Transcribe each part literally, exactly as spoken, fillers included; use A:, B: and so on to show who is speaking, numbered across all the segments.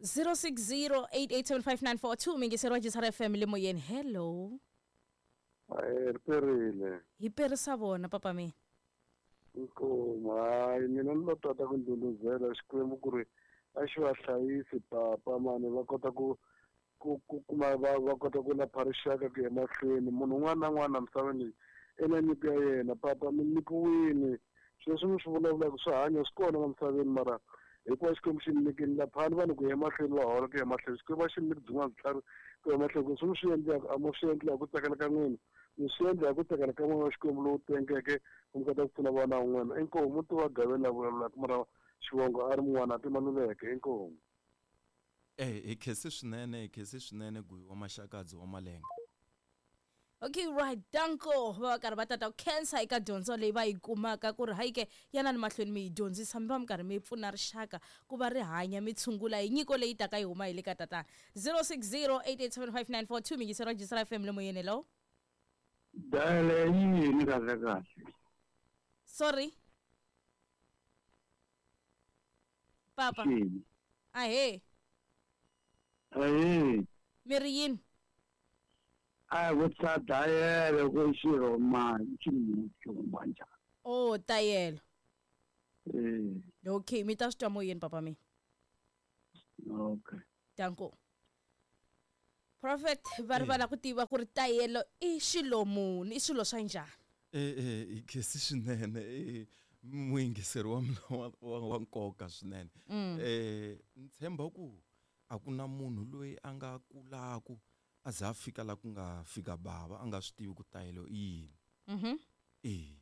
A: zero six zero eight eight seven five nine four two mingiseri wa G S R F M le moyeni, hello.
B: Hayi, ri perile.
A: Hi perisa vona, papa mina.
B: Inkomu. Hayi, mina ni lo tata ku ndhundhuzela Xikwembu ku ri a xi va hlayisi papa mani, va kota ku ku ku kuma va va kota ku lapha rixaka ku ya mahlweni. Munhu un'wana na un'wana misaveni leyi i na nyiko ya yena. Papa, mi nyikiwini sweswi mi swi vulavulaka, swi hanya swi kona la misaveni, mara hikuva Xikwembu xi mi nyikini, laphani vanhu ku ya emahlweni, va hola ku ya emahlweni. Xikwembu a xi mi nyiki byin'wana vutlhari ku ya emahlweni, ku swi mi swi endlaka a mo swi endla hi ku tsakela ka n'wina, mi swi endla hi ku tsakela ka n'wina wa Xikwembu lowu tengeke, ku mi kota ku pfuna vana un'wana. Inkomu. Muti wa Gaveni la vulavulaka, mara xivongo a ri mun'wana a timaluleke. Inkomu.
C: Eh, hi khense swinene, hi khense swinene, Guyi wa Maxakadzi wa Malenga.
A: Okay, right, danko. Va va karhi va tata ku khensa eka dyondzo leyi va yi kumaka, ku ri hayi ke, yanani mahlweni mi yi dyondzisa, mi va mi karhi mi pfuna rixaka ku va ri hanya, mi tshungula hi nyiko leyi taka yi huma hi le ka tatana. zero six zero eight eight seven five nine four two, mingiseri wa G S R F M le moyeni, hello.
D: Dayele yini kahle kahle?
A: Sorry, papa.
D: Xini?
A: Ahee.
D: Ayi.
A: Mi ri yini?
D: A vutisa dayele ku xirhomani xi njhani.
A: Oh, tayelo.
D: Eh.
A: Okay, mi ta swi twa moyeni, papa mina.
D: Okay.
A: Danko. Prophet, va ri va lava ku tiva ku ri tayelo i xilo muni, i swilo swa njhani?
C: Eh eh hi khense swinene, eh muyingiseri wa mina wa, wa, wa nkoka swinene. Eh ni tshemba ku a ku na munhu loyi a nga kulaku a za a fika la ku nga fika bava a nga swi tivi ku tayelo i yini.
A: Mhm.
C: Eh.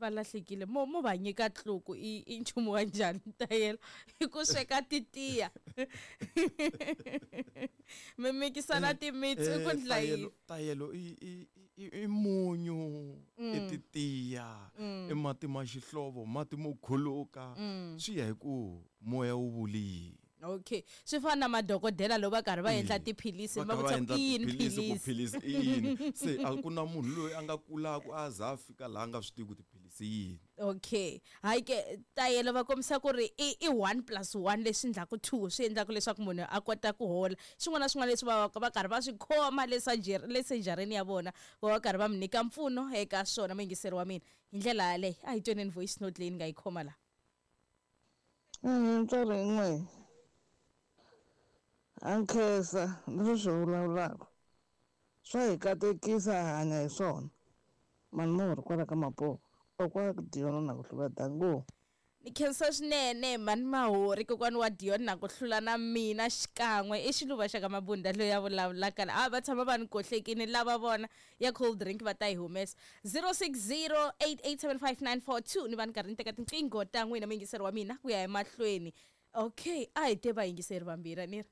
A: Va lahlekile, mo mo va nyika tluku, i i nchumu wa njhani tayelo? I ku sweka titiya, mi mikisana timitsu, i ku ndla yini?
C: Tayelo, tayelo i i i, i munyu, i titiya, i mati ma xihlovo, mati mo khuluka, swi ya hi ku moya wu vuli yini.
A: Okay, swi fana na madokodela loko va karhi va endla tiphilisi,
C: va
A: va
C: kha va
A: vutisa
C: endla
A: ku i yini
C: tiphilisi, ku
A: philisi.
C: Philisi i yini? Se a ku na munhu loyi a nga kulaku a za a fika laha a nga swi tivi ku tiphilisi i yini.
A: Okay, hayi ke, tayelo va kombisa ku ri i i one plus one leswi endlaku two, swi endlaku leswaku munhu a kota ku hola. Swin'wana na swin'wana leswi va va va karhi va swi khoma le surgery le surgery ya vona, va va karhi va mi nyika mpfuno eka swona. Muyingiseri wa mina, hi ndlela yaleyo a hi tweneni voice note leyi ni nga yi khoma laha.
E: Ntswari n'we a nkhensa leswi swi vulavulaka, swa hi katekisa, hi hanya hi swona. Mani mo kwala ka mapoho okwa Diona na ku hlula, dango.
A: Ni khensa swinene, mani Mahori, kokwani wa Dion na ku hlula na mina xikan'we, i Xiluva xa ka Mabunda loyi a vulavulaka la. A va tshama va ni kohlekini lava vona ya cold drink va ta yi humesa. zero six zero eight eight seven five nine four two, ni va ni karhi ni teka tinqingho ta n'wina, muyingiseri wa mina, ku ya emahlweni. Okay, a hi te vayingiseri vambirhi, a ni ri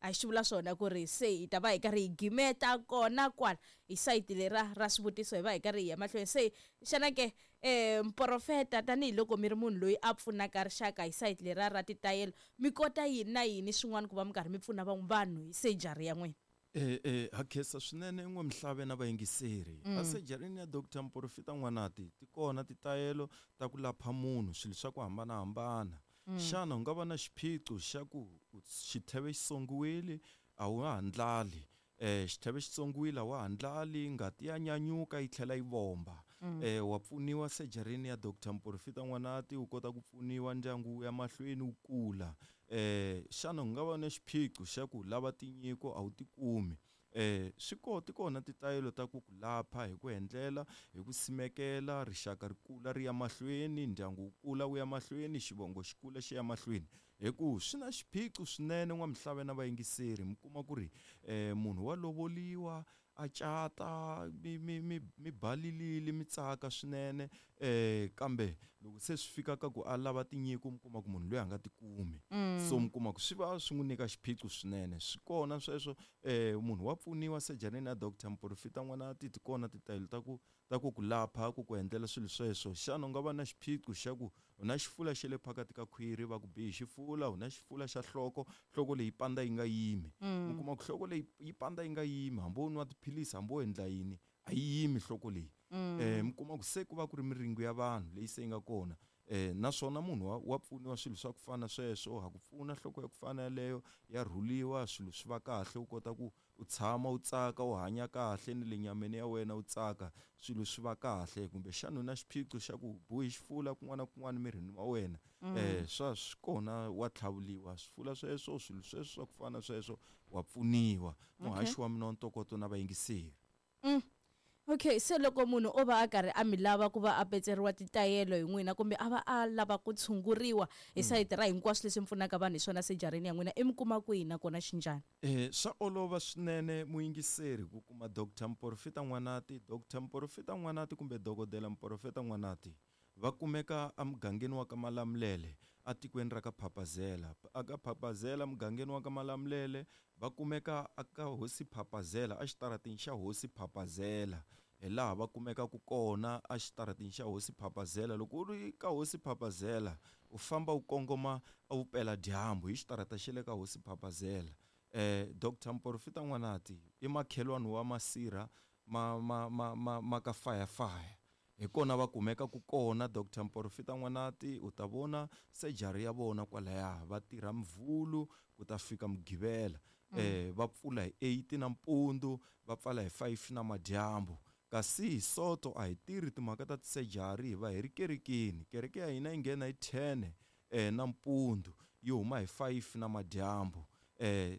A: a xi vula swona ku ri se hi ta va hi karhi hi gimeta kona kwala hi sayiti lera ra swivutiso, hi va hi karhi hi ya mahlweni. Se xana ke, um muprofeta, tanihiloko mi ri munhu loyi a pfunaka rixaka hi sayiti lera ra titayelo, mi kota yini na yini swin'wana ku va mi karhi mi pfuna van'we vanhu hi sejari ya n'wina?
C: Eh eh ha khensa swinene n'we Mhlave na vayingiseri. A sejarini ya Doctor Muprofita N'wanati ti kona titayelo ta ku lapha munhu swilo swa ku hambanahambana. Xana u nga va na xiphiqo xa ku xitheve xi songiwile, a wu ha ndlali, eh xitheve xi tsongiwile, a wa ha ndlali, ngati ya nyanyuka yi tlhela yi vomba, eh wa pfuniwa sejarini ya Doctor Muprofita N'wanati, u kota ku pfuniwa, ndyangu wu ya mahlweni wu kula. eh xana u nga va na xiphiqo xa ku lava tinyiko a wu ti kumi? eh swi ko ti kona titayelo ta ku ku lapha hi ku endlela hi ku simekela rixaka, ri kula ri ya mahlweni, ndyangu wu kula wu ya mahlweni, xivongo xi kula xi ya mahlweni, hi ku swi na xiphiqo swinene n'wa Mhlave na vayingiseri. Mi kuma ku ri eh munhu wa lovoliwa, a cata, mi mi mi mi balilile, mi tsaka swinene, eh kambe loko se swi fika ka ku a lava tinyiko, mi kuma ku munhu loyi a nga ti kumi. So mi kuma ku swi va swi n'wi nyika xiphiqo swinene. Swi kona sweswo, eh munhu wa pfuniwa sejaneni ya Doctor Muprofita N'wanati, ti kona titayelo ta ku ta ku ku lapha, ku ku endlela swilo sweswo. Xana u nga va na xiphiqo xa ku u na xifula xa le phakati ka khwiri, va ku bihi xifula, u na xifula xa nhloko, nhloko leyi pandza yi nga yimi? Mi kuma ku nhloko leyi yi pandza yi nga yimi, hambi wo nwa tiphilisi, hambi wo endla yini, a yi yimi nhloko leyi. eh mi kuma ku se ku va ku ri miringo ya vanhu leyi se yi nga kona. Eh naswona munhu wa, wa pfuniwa swilo swa ku fana sweswo, ha ku pfuna nhloko ya ku fana yaleyo ya rhuliwa, swilo swi va kahle, u kota ku u tshama u tsaka, u hanya kahle ni le nyameni ya wena u tsaka, swilo swi va kahle. Kumbexana u na xiphiqo xa ku bohi xifula kun'wana na kun'wana mirini wa wena, eh swa swi kona, wa tlhavuliwa swifula sweswo, swilo sweswo swa ku fana sweswo wa pfuniwa. Muhaxi wa mina wa ntokoto na vayingiseri.
A: Mm. Okay, se loko munhu o va a karhi a mi lava ku va a petseriwa titayelo hi n'wina kumbe a va a lava ku tshunguriwa hi sayiti ra hinkwaswo leswi mi pfunaka vanhu hi swona sejareni ya n'wina, i mi kuma kwihi nakona xinjhani?
C: Eh swa olova swinene muyingiseri ku kuma Doctor Mporofita N'wanati. Doctor Mporofita N'wanati kumbe Dokodela Mporofeta N'wanati va kumeka emugangeni wa ka Malamulele atikweni ra ka Phapazela. Aka Phapazela mugangeni wa ka Malamulele va kumeka aka Hosi Phapazela, exitarateni xa Hosi Phapazela, hi laha va kumekaka kona exitarateni xa Hosi Phapazela. Loko u ri ka Hosi Phapazela u famba u kongoma evupeladyambu hi xitarata xa le ka Hosi Phapazela. Eh Doctor Mporofita N'wanati i makhelwani wa masirha ma ma ma ma, ma ka fire fire, hi kona va kumekaka kona. Doctor Mporofita N'wanati u ta vona sejari ya vona kwalaya, va tirha Mvhulu ku ta fika Mugqivela. Eh va pfula hi eight nampundzu, va pfala hi five na madyambu. Kasi hi Soto a hi tirhi timhaka ta tisejari, hi va hi ri kerekeni. Kereke ya hina yi nghena hi ten eh nampundzu, yi huma hi five na madyambu. Eh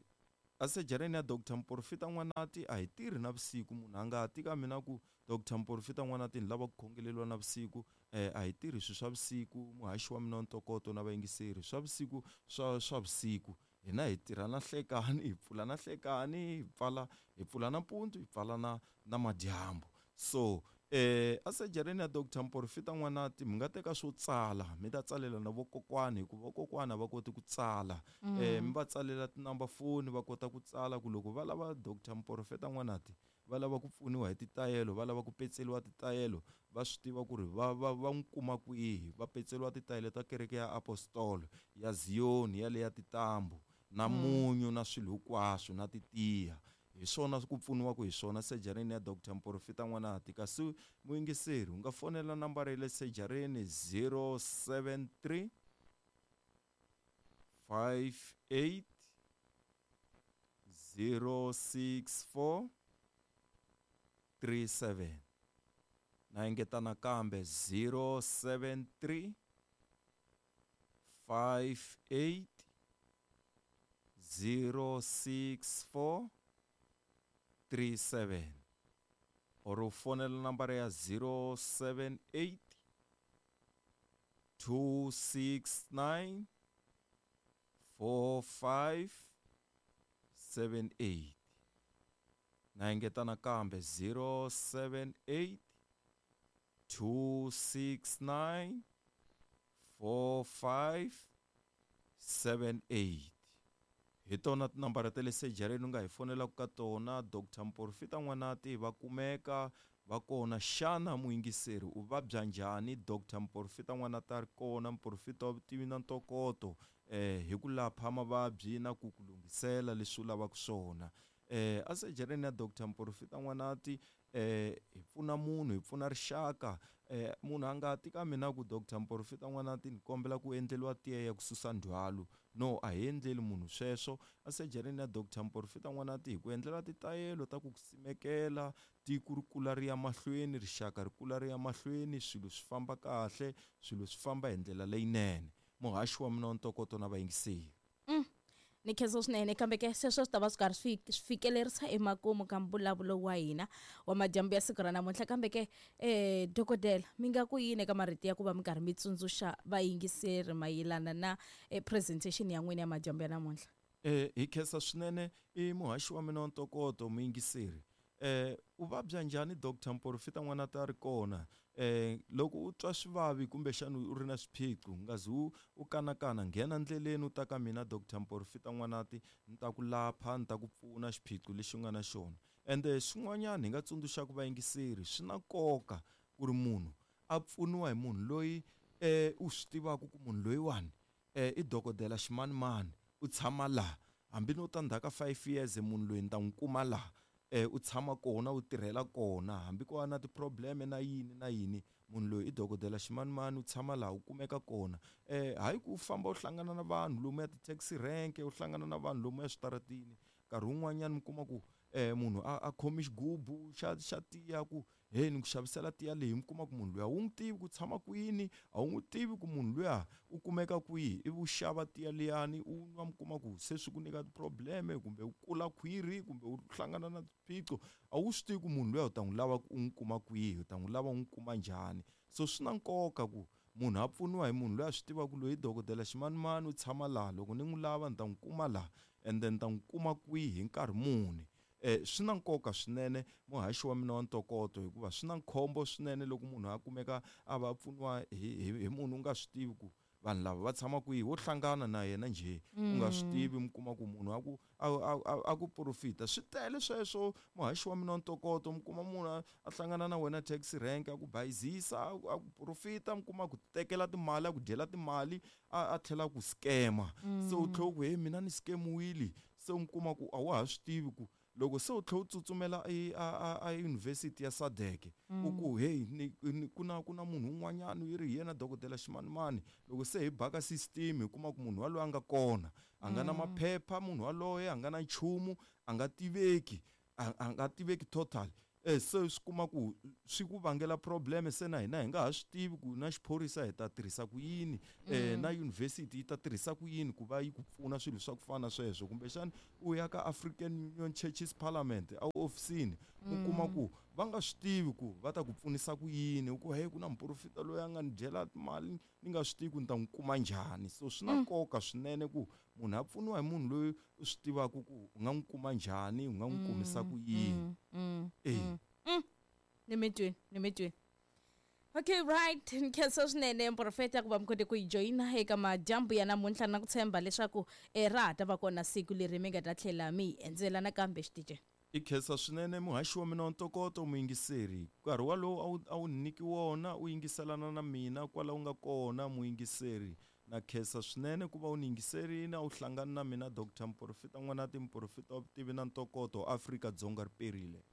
C: asejareni ya Doctor Mporofita N'wanati a hi tirhi navusiku. Munhu a nga ti ka mina ku Doctor Mporofita N'wanati ni lava ku khongeleriwa navusiku, eh a hi tirhi swilo swa vusiku. Muhaxi wa mina wa ntokoto na vayingiseri, swa vusiku swa swa vusiku hina hi tirha na nhlekani, hi pfula na nhlekani, hi pfala hi pfula nampundzu, hi pfala na na madyambu. So eh asejareni ya Doctor Mporofita N'wanati mi nga teka swo tsala, mi ta tsalela na vokokwani, hikuva vokokwani a va koti ku tsala. Eh mi va tsalela tinumber phone va kota ku tsala, ku loko va lava Doctor Mporofeta N'wanati va lava ku pfuniwa hi titayelo, va lava ku petseriwa titayelo, va swi tiva ku ri va va va n'wi kuma kwihi. Va petseriwa titayelo ta kereke ya Apostolo ya Zion ya le ya titambu na munyu na swilo hinkwaswo na titiya, hi swona ku pfuniwaka hi swona sejareni ya Doctor Mporofita N'wanati. Kasi muyingiseri u nga fonela nambara ya le sejareni zero seven three five eight zero six four three seven. Na engeta nakambe zero seven three five eight zero six four three seven, or u fonela nambara ya zero seven eight two six nine four five seven eight. Na engeta nakambe zero seven eight two six nine four five seven eight. Hi tona tinambara ta le sejareni u nga hi fonelaka ka tona. Doctor Mporofita N'wanati va kumeka va kona. Xana muyingiseri u vabya njhani? Doctor Mporofita N'wanati a ri kona, muporofita wa vutivi na ntokoto eh hi ku lapha mavabyi na ku ku lunghisela leswi u lavaka swona. Eh asejareni ya Doctor Mporofita N'wanati eh hi pfuna munhu, hi pfuna rixaka. Eh munhu a nga ti ka mina ku Doctor Mporofita N'wanati ni kombela ku endleriwa tiya ya ku susa ndzhwalo. No, a hi endleli munhu sweswo. Asejareni ya Doctor Mporofita N'wanati hi ku endlela titayelo ta ku ku simekela tiko ri kula ri ya mahlweni, rixaka ri kula ri ya mahlweni, swilo swi famba kahle, swilo swi famba hi ndlela leyinene. Muhaxi wa mina wa ntokoto na vayingiseri.
A: Mm. Ni khensa swinene, kambe ke sweswo swi ta va swi karhi swi fikelerisa emakumu ka mbulavulo wa hina wa madyambu ya siku ra namuntlha. Kambe ke eh dokodela, mi nga ku yini eka marito ya ku va mi karhi mi tsundzuxa vayingiseri mayelana na eh, presentation ya n'wina ya madyambu ya namuntlha?
C: Eh hi khensa swinene, i muhaxi wa mina wa ntokoto muyingiseri. Eh u vabya njhani? Doctor Mporofita N'wanati a ri kona. Eh loko u twa swivavi kumbexana u ri na swiphiqo, u nga zi u kanakana, nghena ndleleni u ta ka mina Doctor Mporofita N'wanati, ni ta ku lapha, ni ta ku pfuna xiphiqo lexi u nga na xona. Ende swin'wanyana hi nga tsundzuxaka vayingiseri, swi na nkoka ku ri munhu a pfuniwa hi munhu loyi eh u swi tivaka ku munhu loyiwani eh i dokodela ximanimani, u tshama laha, hambi no ta ndzhaku ka five years munhu loyi ni ta n'wi kuma laha, eh u tshama kona, u tirhela kona, hambi ko va na ti-problem na yini na yini, munhu loyi i dokodela ximanimani u tshama laha u kumeka kona. Eh hayi ku famba u hlangana na vanhu lomu ya ti-taxi rank, u hlangana na vanhu lomu ya switaratini, nkarhi wun'wanyana mi kuma ku eh munhu a a khomi xigubu xa xa tiya ku he ni ku xavisela tiya leyi, mi kuma ku munhu luya wu n'wi tivi ku tshama kwini, a wu n'wi tivi ku munhu luya u kumeka kwihi, ivi u xava tiya liyani u nwa, mi kuma ku se swi ku nyika ti-problem kumbe u kula khwiri kumbe u hlangana na swiphiqo, a wu swi tivi ku munhu luya u ta n'wi lava ku u n'wi kuma kwihi, u ta n'wi lava u n'wi kuma njhani. So swi na nkoka ku munhu a pfuniwa hi munhu loyi a swi tivaka ku loyi dokodela ximanimani u tshama laha, loko ni n'wi lava ni ta n'wi kuma laha, and then ni ta n'wi kuma kwihi hi nkarhi muni. Eh swi na nkoka swinene muhaxi wa mina wa ntokoto, hikuva swi na khombo swinene loko munhu a kumeka a va pfuniwa hi hi munhu u nga swi tivi ku vanhu lava va tshama kwihi, wo hlangana na yena njhe u nga swi tivi, mi kuma ku munhu a ku a ku profita. Swi tele sweswo muhaxi wa mina wa ntokoto, mi kuma munhu a hlangana na wena taxi rank a ku bayizisa, a ku profita, mi kuma ku tekela timali, a ku dyela timali, a a tlhela ku scammer. Se u tlhela ku he mina ni scamiwile, se mi kuma ku a wa ha swi tivi ku loko se u tlhela u tsutsumela a a university ya S A D C u ku hey ni ku na ku na munhu un'wanyana yi ri hi yena dokodela ximanimani, loko se hi baka system hi kuma ku munhu waloye a nga kona, a nga na maphepha, munhu waloye a nga na nchumu, a nga tiveki, a nga tiveki total. Eh se swi kuma ku swi ku vangela problem, se na hina hi nga ha swi tivi ku na xiphorisa hi ta tirhisa ku yini, eh na university yi ta tirhisa ku yini ku va yi ku pfuna swilo swa ku fana sweswo. Kumbexana u ya ka African Union Churches Parliament a ofisini u kuma ku va nga swi tivi ku va ta ku pfunisa ku yini, u ku hey ku na muprofita loyi a nga ni dyela timali ni nga swi tivi ku ni ta n'wi kuma njhani. So swi na nkoka swinene ku munhu a pfuniwa hi munhu loyi u swi tivaka ku u nga n'wi kuma njhani, u nga n'wi kumisa ku yini. Eh
A: ni mi twini, ni mi twini. Okay, right. Nkhensa swinene muprofeta ku va mi kote ku yi joyina eka madyambu ya namuntlha, na ku tshemba leswaku ra ha ta va kona siku leri mi nga ta tlhela mi hi endzela nakambe xitiche.
C: I khensa swinene muhaxi wa mina wa ntokoto muyingiseri, nkarhi walowo a wu a wu niki wona u yingiselana na mina kwala u nga kona muyingiseri. Na khensa swinene ku va u ni yingiserile, a wu hlangana na mina Doctor Muprofeta N'wanati, muprofeta wa vutivi na ntokoto, Afrika-Dzonga ri perile.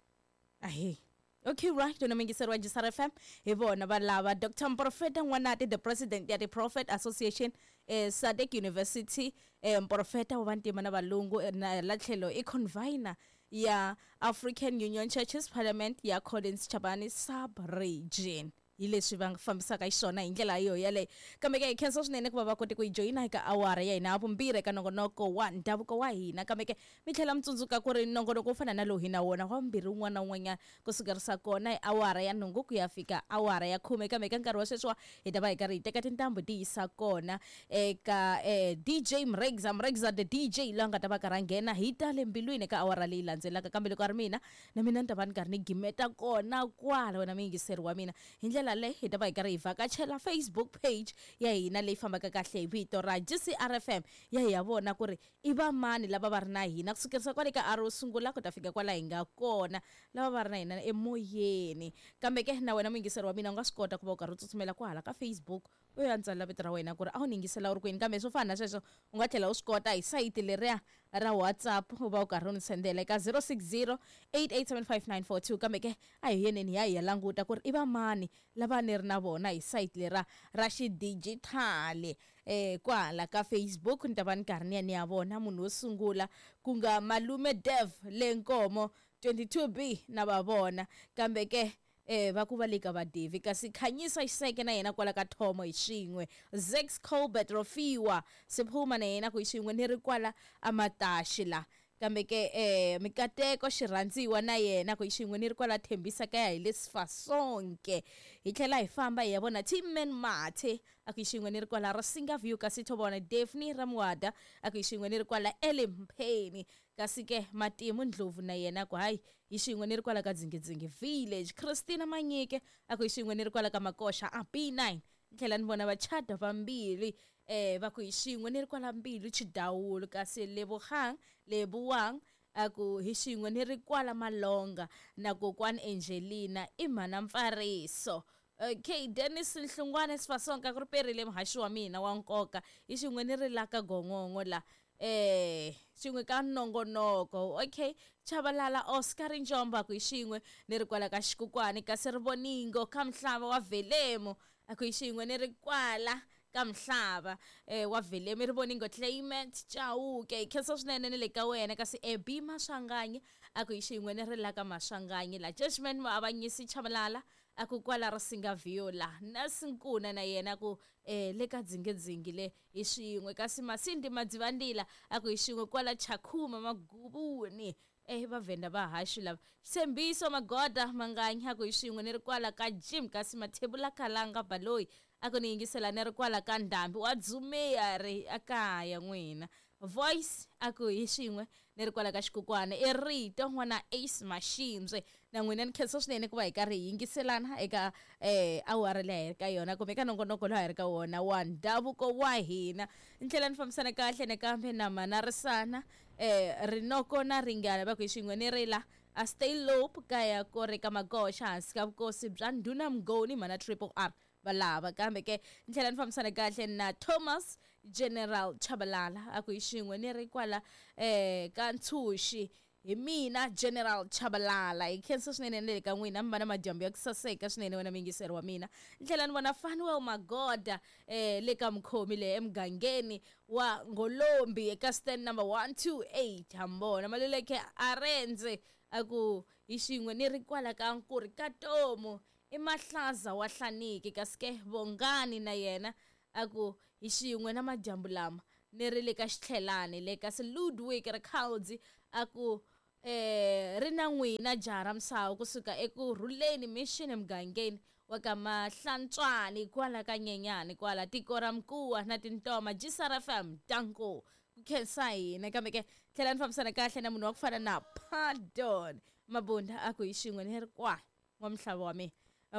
A: Ahee. Okay, right. Tona muyingiseri wa G S R F M hi vona va lava Doctor Muprofeta N'wanati, the president ya the Prophet Association, eh, S A D C University, eh, muprofeta wa vantima na valungu, na la tlhelo i convener ya African Union Churches Parliament ya Collins Chabane sub-region. Hi leswi va fambisaka xiswona hi ndlela yo yaleyo. Kambe ke hi khensa swinene ku va va kote ku yi joyina eka awara ya hina ya vumbirhi eka nongonoko wa ndhavuko wa hina. Kambe ke mi tlhela mi tsundzuka ku ri nongonoko wo fana na lowu hi na wona wa vumbirhi wun'wana na wun'wanyana kusukerisa kona hi awara ya nhungu ku ya fika awara ya khume. Kambe eka nkarhi wa sweswiwa hi ta va hi karhi hi teka tintambu ti yisa kona eka eh, D J Mregza, Mregza the D J loyi a nga ta va karhi a nghena hi ta le mbilwini eka awara leyi landzelaka. Kambe loko a ri mina na mina ni ta va ni karhi ni gimeta kona kwala wena muyingiseri wa mina. Hi ndlela leyi hi ta va hi karhi hi vhakachela Facebook page ya hina leyi fambaka kahle hi vito ra G C R F M, ya hi ya vona ku ri i va mani lava va ri na hina kusukerisa kwale ka aro sungula ku ta fika kwala hi nga kona, lava va ri na hina emoyeni. Kambe ke na wena muyingiseri wa mina u nga swi kota ku va u karhi u tsutsumela kwahala ka Facebook u ya ntsala vito ra wena ku ri a wu ni yingisela u ri kwini. Kambe swo fana na sweswo u nga tlhela u swi kota hi sayiti leriya ra WhatsApp u va u karhi u ni sendela eka zero six zero eight eight seven five nine four two. Kambe ke a hi yeneni hi ya hi ya languta ku ri i va mani lava ni ri na vona hi sayiti lera ra xidijithali eh kwala ka Facebook. Ni ta va ni karhi ni ya ni ya vona munhu wo sungula ku nga Malume Dev le Nkomo twenty-two B na va vona. Kambe ke eh va ku va le ka va Devi, kasi Khanyisa Xiseke na yena kwala ka Thomo hi xin'we, Zex Colbert Rofiwa Siphuma na yena ku hi xin'we ni ri kwala Amataxi la. Kambe ke eh Mikateko Xirhandziwa na yena ku hi xin'we ni ri kwala Thembisa kaya hi le Sifasonke. Hi tlhela hi famba hi ya vona Timman Mathe a ku hi xin'we ni ri kwala Rasinga View, kasi Thobona Daphne Ramwada a ku hi xin'we ni ri kwala Elimpheni. Kasi ke Matimu Ndlovu na yena ku hayi hi xin'we ni ri kwala ka Dzingidzingi Village. Christina Manyike a ku hi xin'we ni ri kwala ka Makoxa a B nine. Ni tlhela ni vona vachada vambirhi eh va ku hi xin'we ni ri kwala Mbilu Chidawulu, kasi Lebogang Leboang a ku hi xin'we ni ri kwala Malonga na kokwani Angelina i mhana Mpfariso. Okay, Dennis Nhlungwane Sifasonka ku ri perile muhaxi wa mina wa nkoka hi xin'we ni ri la ka Gongongo la. eh xin'we ka nongonoko. Okay, Chabalala Oscar Njomba ku xin'we ni ri kwala ka Xikukwani, kasi Rivoningo ka Mhlava wa Velemo a ku xin'we ni ri kwala ka Mhlava eh wa Velemo Rivoningo Clement Chauke. Khensa swinene ni le ka wena. Kasi Ebi Maswanganyi a ku xin'we ni ri la ka Maswanganyi la. Judgment Muavanyisi Chabalala a ku kwala Risinga Viola na Sinkuna na yena ku eh le ka dzingedzingi le hi xin'we. Kasi Masindi Madzivandila a ku hi xin'we kwala Chakhuma Magubuni eh vavhenda va haxi lava. Tshembiso Magoda Manganya ku hi xin'we ni ri kwala ka Jim. Kasi Mathebula Kalanga Baloyi a ku ni yingisela ni ri kwala ka Ndhambi wa Dzumeya ri akaya n'wina. Voice a ku hi xin'we ni ri kwala ka Xikukwana i Rito n'wana Ace Mashimbye na n'wina. Ni khensa swinene ku va hi karhi hi yingiselana eka eh awara leyi hi ri ka yona kumbe eka nongonoko lowu hi ri ka wona wa ndhavuko wa hina. Ni tlhela ni fambisana kahle nakambe na Manarisana eh Rinoko na Ringana va ku hi xin'we ni ri la a stay lope kaya ko ri ka Magoxa hansi ka vukosi bya Ndhuna Mngoni mana Triple R valava. Kambe ke ni tlhela ni fambisana kahle na Thomas General Chabalala a ku hi xin'we ni ri kwala eh ka Ntshuxi hi mina General Chabalala. Hi khensa swinene ni le ka n'wina, mi va na madyambu ya ku saseka swinene wena muyingiseri wa mina. Ni tlhela ni vona Fanuel Magoda eh le ka Mkhomi le emugangeni wa Ngolombi eka stand number one two eight. Hambona Maluleke Arendze a ku hi xin'we ni ri kwala ka Nkuri ka Tomu i Mahlaza wa Hlaniki. Kasi ke Vongani na yena a ku hi xin'we na madyambu lama ni ri le ka Xitlhelani le. Kasi Ludwig Rikhaudzi a ku eh ri na n'wina jaha ra Msawu kusuka eKurhuleni Mission emugangeni wa ka Mahlantswani kwala ka Nyenyani kwala tiko ra Mkuwa na Tintoma. G S R F M danko ku khensa hina. Kambe ke tlhela ni fambisana kahle na munhu wa ku fana na Pardon Mabunda a ku hi xin'we ni ri kwa wa Mhlava wa mina.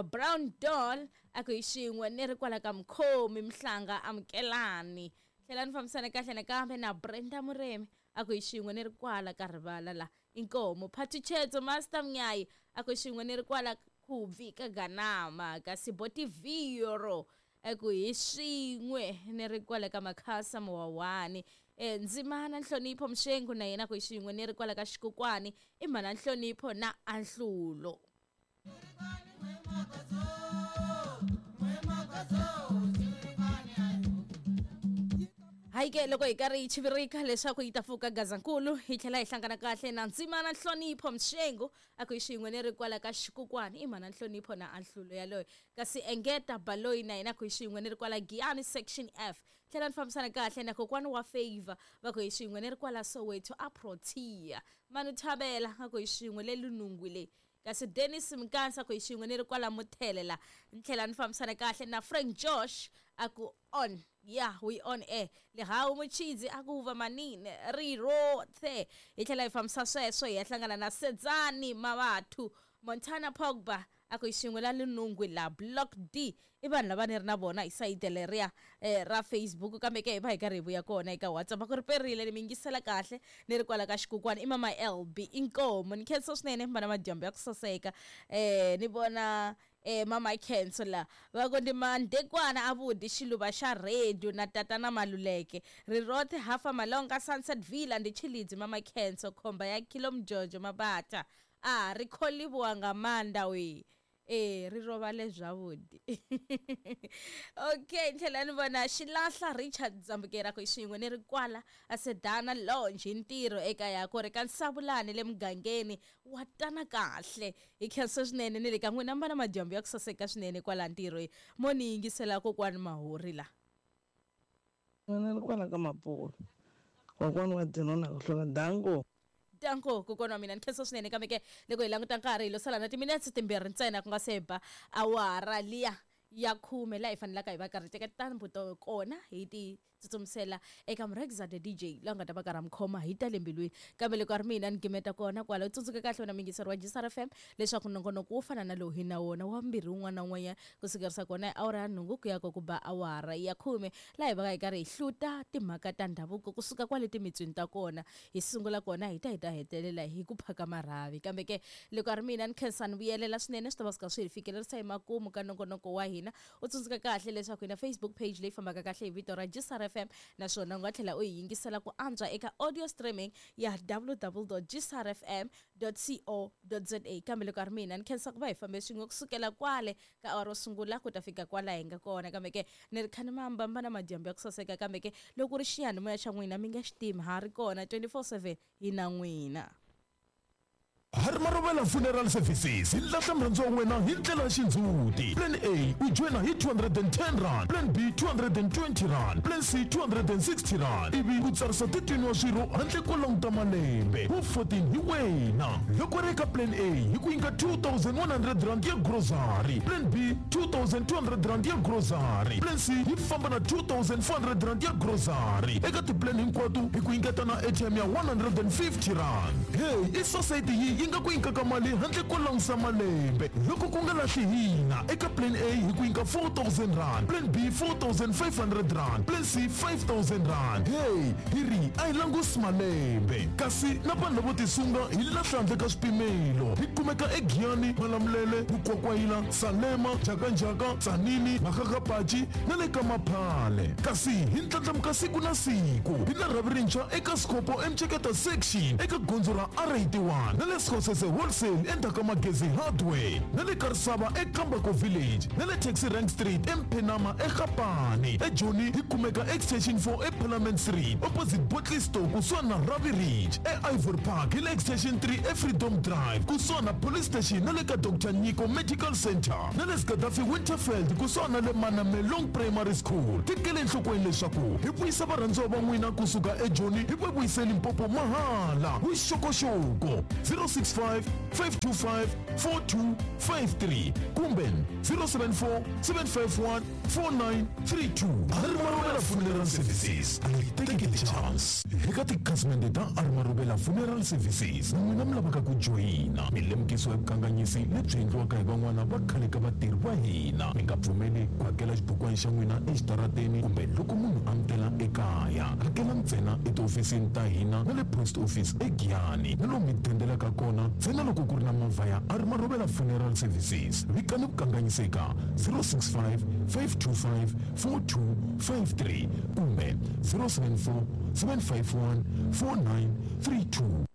A: Brown Doll a ku hi xin'we ni ri kwala ka Mkhomi Mhlanga Amukelani. Tlhela ni fambisana kahle nakambe na Brenda Muremi a ku hi xin'we ni ri kwala ka Rivala la Inkomo. Phathutshedzo Master Mnyayi a ku hi xin'we ni ri kwala Khubvi ka Ganama. Kasi Botiviro a ku hi xin'we ni ri kwala ka Makhasa Muwawani. Eh Ndzimana Nhlonipho Mshengu na yena ku hi xin'we ni ri kwala ka Xikukwani i Mhana Nhlonipho na Anhlulo. Hayi ke loko hi karhi hi chivirika leswaku yi ta pfuka Gazankulu hi tlhela hi hlangana kahle na Ndzimana Nhlonipho Mshengu a ku hi xin'we ni ri kwala ka Xikukwani i Mhana Nhlonipho na Anhlulo yaloyo. Kasi Engeta Baloyi na yena ku hi xin'we ni ri kwala Giyani Section F. Tlhela ni fambisana kahle na Kokwani wa Favor va ku hi xin'we ni ri kwala Soweto a Protea. Manu Thabela a ku hi xin'we le Lunungwi le. Kasi Dennis Mkansa ku hi xin'we ni ri kwala Muthele la. Ni tlhela ni fambisana kahle na Frank Josh a ku on yeah we on air. Lehawu Muchidzi a ku va manini ri rothe. Hi tlhela hi fambisa sweswo hi ya hlangana na Sedzani Mavathu Montana Pogba a ku hi xin'we la Lunungwi la Block D. I vanhu lava ni ri na vona hi sayiti leriya eh, ra Facebook. Kambe ke hi va hi karhi hi vuya kona eka WhatsApp a ku ri perile ni mi yingisela kahle ni ri kwala ka Xikukwani i Mama L B Inkomo. Ni khensa swinene mi va na madyambu ya ku saseka eh ni vona eh Mama Khenso la va ku ndi Mandekwana a vudi xiluva xa radio na tatana Maluleke Rirothe Hafa Malonga Sunset Villa ndi Chilidzi Mama Khenso khomba ya Kilomjojo Mabata a ri kholiwa nga maanḓa we eh ri rovale zwavhuḓi. Okay, tlhela ni vona Xilahla Richard Dzambukera ku xin'we ni ri kwala a Sedana Lounge hi ntirho eka ya ku ri ka Nsavulani le mugangeni wa tana kahle. Hi khensa swinene ni le ka n'wina mi va na madyambu ya ku saseka swinene kwala ntirhweni mo ni yingisela kokwani Mahori la.
E: Ni ri kwala ka Mapolo kokwani wa Dino na ku hlula danko.
A: Danko kokwana wa mina ni khensa swinene. Kambe ke loko hi languta nkarhi hi lo sala na timinetse timbirhi ntsena ku nga se ba awara liya ya khume laha hi fanelaka hi va karhi teka tintambu to kona hi ti tsutsumisela eka Murhekza the D J loyi a nga ta va karhi a mi khoma hi ta le mbilwini. Kambe loko a ri mina ni gimeta kona kwala. U tsundzuka kahle wena muyingiseri wa G S R F M leswaku nongonoko wo fana na lowu hi na wona wa mbirhi wun'wana na wun'wanyana ku sukerisa kona hi awara ya nhungu ku ya ko ku ba awara ya khume laha hi va hi karhi hi hluta timhaka ta ndhavuko kusuka kwale timitswini ta kona hi sungula kona hi ta hi ta hetelela hi ku phaka marhavi. Kambe ke loko a ri mina ni khensa ni vuyelela swinene swi ta va swi kha swi hi fikelerisa hi makumu ka nongonoko wa hina. U tsundzuka kahle leswaku hi na Facebook page leyi fambaka kahle hi vito ra G S R F F M naswona u nga tlhela u yi yingisela ku antswa eka audio streaming ya w w w dot g s r f m dot co dot z a. Kambe loko a ri mina ni khensa ku va hi fambe swin'we kusukela kwale ka awara ro sungula ku ta fika kwala hi nga kona. Kambe ke ni ri khani mambamba na madyambu ya ku saseka, kambe ke loko ri xiyanimoya xa n'wina mi nga xi timi, ha ri kona twenty-four seven hi na n'wina.
F: Harimarovela Funeral Services hi lahla murhandzi wa wena hi ndlela ya xindzhuti. Plan A u joyina hi two hundred and ten rand, Plan B two hundred and twenty rand, Plan C two hundred and sixty rand. Ivi u tsarisa thirteen wa swirho handle ko languta malembe. Wu fourteen hi wena. Loko ri eka Plan A hi ku nyika two thousand one hundred rand ya grocery, Plan B two thousand two hundred rand ya grocery, Plan C hi famba na two thousand four hundred rand ya grocery. Eka ti-plan hinkwato hi ku nyiketa na airtime ya one hundred and fifty rand. Hey, i society yi yi nga ku nyikaka mali handle ko langusa malembe. Loko ku nga lahli hina eka Plan A hi ku nyika four thousand rand, Plan B four thousand five hundred rand, Plan C five thousand rand. Hey, hi ri a hi langusi malembe. Kasi na vanhu lavo tisunga hi lahla handle ka swipimelo. Hi kumeka eGiyani, Malamulele, Mukwakwayila, Salema, Njhakanjhaka, Tzaneen, Makgakgapachi na le ka Maphale. Kasi hi ndlandlamuka siku na siku. Hi na rhavi rintshwa eka Sikopo eMceketa section eka gondzo ra R eighty-one na le Skhosese Wholesale endzhaku ka Magezi Hardware na le Karisava eKambako Village na le Taxi Rank Street eMphenama eGapani. eJoni hi kumeka Extension four eParliament Street opposite Botley Store kusuhani na Ravi Ridge. E-Ivory Park hi le Extension three eFreedom Drive kusuhani na Police Station na le ka Doctor Nyiko Medical Center na le Gaddafi Winterfeld kusuhani na le Manamelong Primary School. Tekele enhlokweni leswaku hi vuyisa varhandziwa va n'wina kusuka eJoni hi va vuyise Limpopo mahala. Vuxokoxoko zero six five, five two five, four two five three kumbe zero seven four, seven five one, four nine three two. Arimarovela Funeral Services, a yi tekeli chance. Eka tikhasimende ta Arimarovela Funeral Services, na n'wina mi lavaka ku joyina milemukiso ya vukanganyisi lebyi endliwaka hi van'wana va khale ka vatirhi va hina. Mi nga pfumeli ku hakela xibukwana xa n'wina exitarateni kumbe loko munhu a mi tela ekaya. Hakela ntsena etihofisini ta hina na le post office eGiyani na lomu mi dendelaka kona ntsena loko ku ri na movha ya Arimarovela Funeral Services. Vikani vukanganyiseka zero six five, five two five, four two five three kumbe zero seven four, seven five one, four nine three two.